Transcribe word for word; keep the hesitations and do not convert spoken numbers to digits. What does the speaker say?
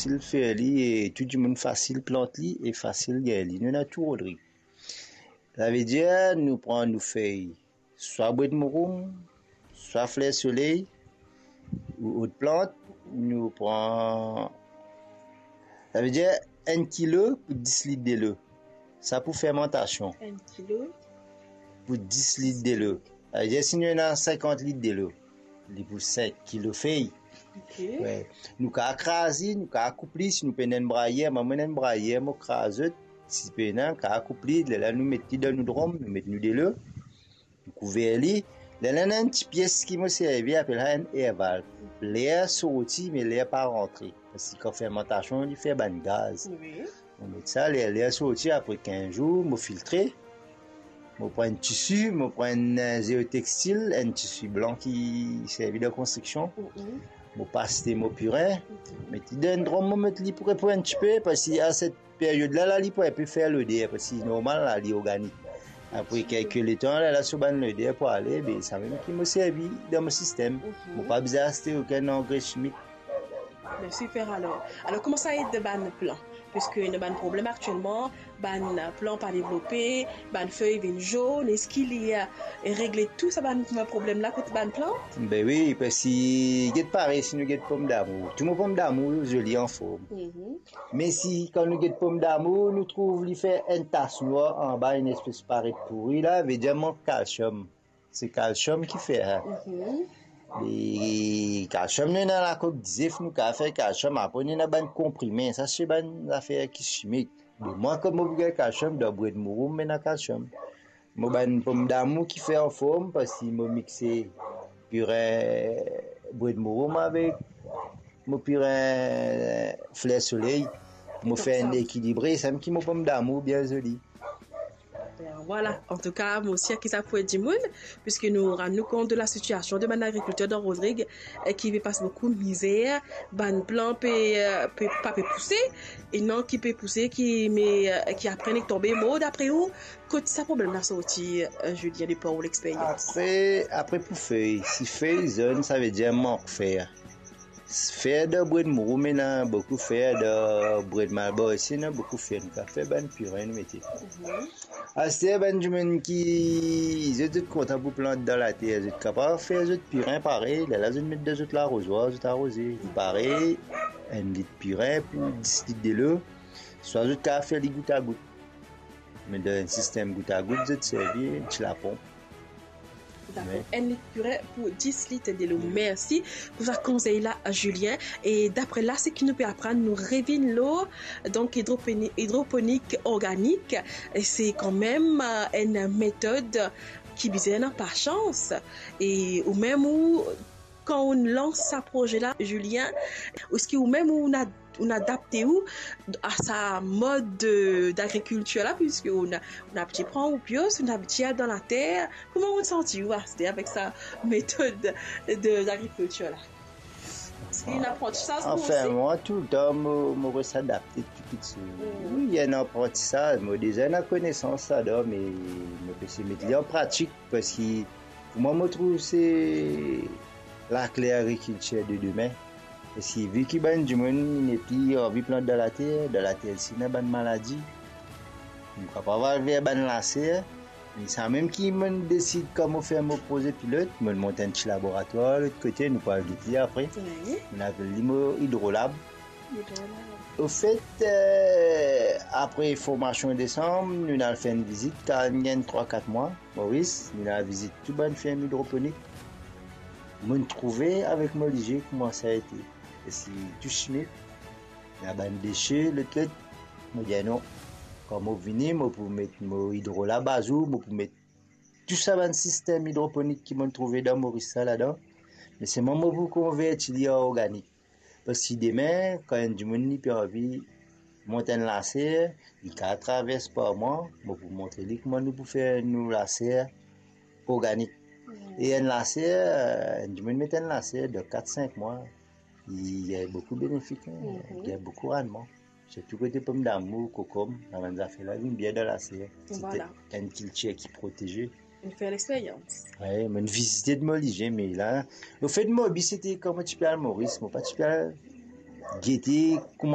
Fasil fer li e tou dimoun fasil plant li e fasil gagn li. Nou ena tou Rodrig. Savedir nou pran nou fey, swa bwed mouroum, swa fler soley, ou lot plant, nou pran, savedir enn kilo pou dis lit delo. Sa pou fermantasion. Enn kilo pou dis lit delo. Savedir si nou ena sinkant lit delo, li pou sink kilo fey. Ok. We. Nou kav kraz li, nou kav koup li, si nou pena enn brayer, mwa mo ena enn brayer, mo kraz zot, si pena, kav koup li, lerla nou met li dan nou drom, nou met nou delo, nou kouver li. Lerla ena enn ti pies ki mo servi, apel sa enn air valve. Ler sorti, me ler pa rantre. Parski kan fermantasion, li fer bann gaz. Wi. Mo met sa, ler, ler sorti, apre kinz zour, mo filtre. Mo pran enn tisi, mo pran enn, eh, zeotextil, enn tisi blan ki servi dan konstriksion. Mhm. Mo pas li mo pirin, mhm, met li dan enn drom, mo met li pou repo enn tipe, parski a set peryod la, la, li pou enpe fer loder, parski normal la, li organik. Apre kelke letan, la, la so bann loder pou ale, be, samem ki mo servi dan mo sistem. Mhm. Mo pa bizin aste okenn angre simik. Be, siper alor. Alor, kouma sa ed bann plan? Piski ena bann problem aktielman, bann plan pa devlope, bann fey vinn zonn, eski li, eh, regle tou sa bann problem la kot bann plan? Be wi, parski get parey si nou get pomdamour. Tou mo pomdamour zoli anform. Mhm. Me si kan nou get pomdamour, nou trouv li fer enn tas nwar anba, enn espes paret pouri la, vedir mank kalsiom. Se kalsiom ki fer sa. Mhm. E kalsiom, nou ena lakok dizef, nou kav fer kalsiom, apre nou ena bann konprime, sa se bann zafer ki simik. Be mwa, kouma mo pou gagn kalsiom, dan bwed mouroum mo ena kalsiom. Mo bann pomdamour ki fer anform, parski mo mixe pirin bwed mouroum avek mo pirin fler soley, mo fer enn ekilibre, samem ki mo pomdamour bien zoli. Ben, vwala, antouka, mo sir ki sa pou ed dimoun, piski nou rann nou kont de la sitiasion de bann agrikilter dan Rodrig, eh, ki pe pas boukou mizer, bann plan pe, eh, pe, pa pe pouse, e non ki pe pouse, ki, me, eh, ki apre nek tonbe mor. Dapre ou, kot sa problem la sorti, eh, Julien, de par ou lexperyans? Apre, apre pou fey, si fey zonn, savedir mank fer. Fer dan bwed mouroum, ena boukou fer, dan bwed malbar osi, ena boukou fer. Nou kav fer bann pirin, nou mete. Mhm. Aster, bann dimoun ki, zot, zot kontan pou plant dan later, zot kapav fer zot pirin parey, lerla zot met dan zot larozwar, zot aroze. Li parey, enn lit pirin pou dis lit delo, swa zot kav fer li goutagout. Me dan enn sistem goutagout, zot servi enn ti laponp. Dakor. Wi. Enn lit pirin pou dis lit delo. Wi. Mersi pou sa konsey la, Julien. E dapre la, seki nou pe aprann, nou revinn lor, donk, idroponi-, idroponik organik, e se kanmem, eh, enn metod ki bizin ena pasians. E ou mem ou, kan ou lans sa proze la, Julien, eski ou mem ou, ou adapte ou a sa mod de, dagrikiltir la, piski ou, ou abitie pran ou pios, ou abitie al dan later. Kouma ou santi ou aster avek sa metod de, dagrikiltir la? Eski ena aprantisaz pou ou osi? Anfin, mwa, toultan, mo, mo res adapte tou, tou, tou. Mm. Wi, ena aprantisaz, mo deza ena konesans ladan, me mo pe seye met li an pratik, parski pou mwa, mo trouv se lakle agrikiltir de demin. Parski vi ki bann dimoun nepli anvi plant dan later, dan later si ena bann maladi, nou kapav al ver bann laser. Me samem ki monn desid kan mo fer mo proze pilot, monn mont enn ti laboratwar lot kote, nou pou al get li apre. Wi. Monn apel li mo Hydrolab. Hydrolab. Ofet, eh, apre formasion desanm, nou al fer enn vizit, kan nou gagn trwa, kat mwa, Moris, nou al vizit tou bann ferm idroponik. Monn trouve avek mo lizie kouma sa ete. E si tou simik, ena bann dese, lot, lot, mo dir non. Kan mo vini, mo pou met mo Hydrolab azour, mo pou met tou sa bann sistem idroponik ki monn trouve dan Moris sa ladan, me selman mo pou konverti li an organik. Parski demin, kan enn dimoun li pe anvi mont enn laser, li kav travers par mwa, mo pou montre li kouma nou pou fer nou laser organik. Hmm. E enn laser, enn dimoun met enn laser, dan kat, sink mwa, li gagn boukou benefik, hein, mhm, li gagn boukou rannman. Sirtou kote pomdamour, kokom, sa bann zafer la vinn bien dan laser. Vwala. Sete enn kiltir ki proteze. Ou fer lexperyans. Wi, monn vizite de mo lizie, me la, lefet mo bi sete kan mo ti pe al Moris, mo pa ti pe al gete kouma